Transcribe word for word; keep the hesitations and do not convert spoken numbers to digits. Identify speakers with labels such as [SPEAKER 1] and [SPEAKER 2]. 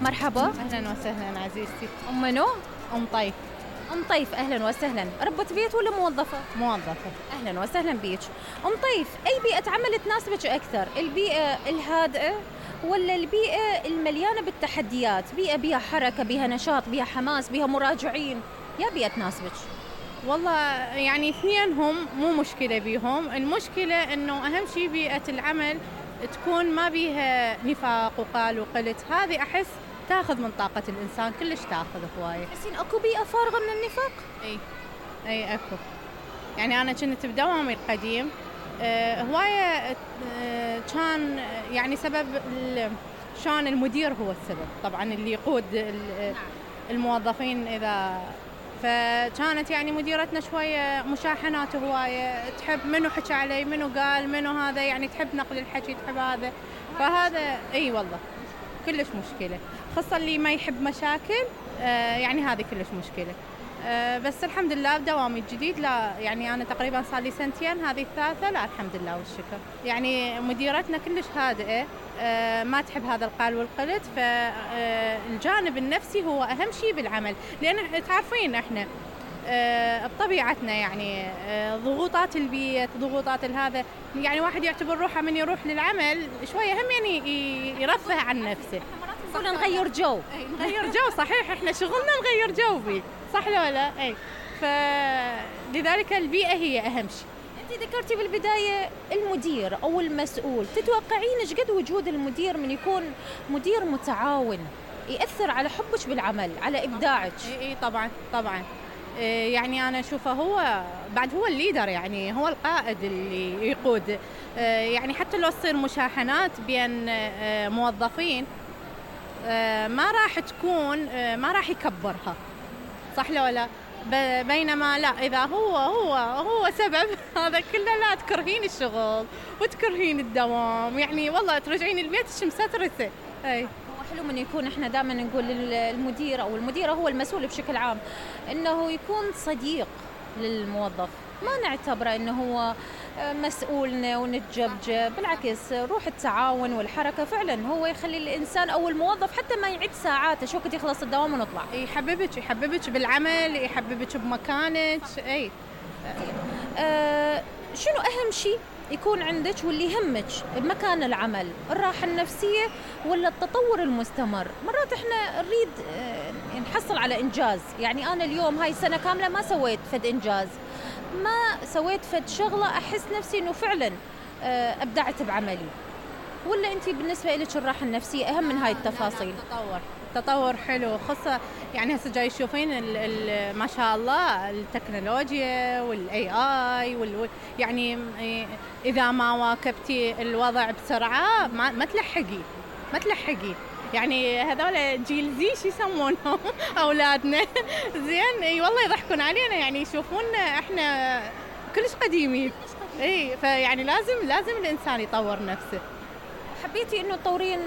[SPEAKER 1] مرحبا.
[SPEAKER 2] أهلا وسهلا عزيزتي.
[SPEAKER 1] أم منو؟
[SPEAKER 2] أم طيف.
[SPEAKER 1] أم طيف أهلا وسهلا. ربة بيت ولا موظفة؟
[SPEAKER 2] موظفة.
[SPEAKER 1] أهلا وسهلا بيك. أم طيف، أي بيئة عمل تناسبك أكثر؟ البيئة الهادئة ولا البيئة المليانة بالتحديات؟ بيئة بيها حركة، بيها نشاط، بيها حماس، بيها مراجعين، يا بيئة تناسبك؟
[SPEAKER 2] والله يعني اثنينهم مو مشكلة بيهم، المشكلة إنه أهم شيء بيئة العمل تكون ما بيها نفاق وقال وقلت، هذه أحس تاخذ من طاقة الإنسان، كلش تاخذ هواية.
[SPEAKER 1] تحسين أكو بيئة فارغة من النفاق؟
[SPEAKER 2] أي أي أكو. يعني أنا كنت بدوامي القديم آه هواية آه كان يعني سبب شان المدير هو السبب، طبعا اللي يقود الموظفين إذا، فكانت يعني مديرتنا شوية مشاحنات هواية، تحب منو حكى علي، منو قال، منو هذا، يعني تحب نقل الحكي، تحب هذا، فهذا اي والله كلش مشكلة، خاصة اللي ما يحب مشاكل آه يعني هذه كلش مشكلة. آه بس الحمد لله بدوامي الجديد لا، يعني أنا تقريبا صار لي سنتين، هذه الثالثة، لا الحمد لله والشكر. يعني مديرتنا كلش هادئة، آه ما تحب هذا القال والقلت، فالجانب النفسي هو أهم شيء بالعمل، لأن تعرفين إحنا آه بطبيعتنا يعني آه ضغوطات البيت، ضغوطات الهذا، يعني واحد يعتبر روحه من يروح للعمل شوية هم يعني يرفه عن نفسه.
[SPEAKER 1] صح، نغير جو.
[SPEAKER 2] نغير جو، صحيح، إحنا شغلنا نغير جو بيه، صح ولا لا؟ أي، فلذلك البيئة هي أهم شيء.
[SPEAKER 1] أنت ذكرتي بالبداية المدير أو المسؤول، تتوقعين إيش قد وجود المدير من يكون مدير متعاون يأثر على حبك بالعمل، على إبداعك؟
[SPEAKER 2] إي إي طبعا طبعا. يعني أنا أشوفه هو بعد هو الليدر، يعني هو القائد اللي يقود، يعني حتى لو تصير مشاحنات بين موظفين ما راح تكون، ما راح يكبرها، صح ولا لا؟ بينما لا، إذا هو هو هو سبب هذا كله، لا تكرهين الشغل وتكرهين الدوام، يعني والله ترجعين البيت مسترسة. أي
[SPEAKER 1] حلو من يكون، احنا دائما نقول المدير او المديره هو المسؤول بشكل عام انه يكون صديق للموظف، ما نعتبره انه هو مسؤولنا ونتجبجب، بالعكس روح التعاون والحركه فعلا هو يخلي الانسان او الموظف حتى ما يعد ساعاته، شو وقت يخلص الدوام ونطلع،
[SPEAKER 2] يحببك يحببك بالعمل، يحببك بمكانك. اي
[SPEAKER 1] آه شنو اهم شيء يكون عندك واللي يهمك بمكان العمل؟ الراحة النفسية ولا التطور المستمر؟ مرات احنا نريد نحصل على إنجاز، يعني أنا اليوم هاي السنة كاملة ما سويت فد إنجاز، ما سويت فد شغلة أحس نفسي إنه فعلا أبدعت بعملي، ولا أنتي بالنسبة لك الراحة النفسية أهم من هاي التفاصيل؟
[SPEAKER 2] التطور تطور حلو، خاصة يعني هسه جاي تشوفين ما شاء الله التكنولوجيا والاي اي وال يعني اذا ما واكبتي الوضع بسرعة ما, ما تلحقي ما تلحقي يعني هذول جيل زي شو يسمونهم اولادنا زين، اي والله يضحكون علينا، يعني يشوفونا احنا كلش قديمين. اي فيعني لازم لازم الانسان يطور نفسه.
[SPEAKER 1] حبيتي انه تطورين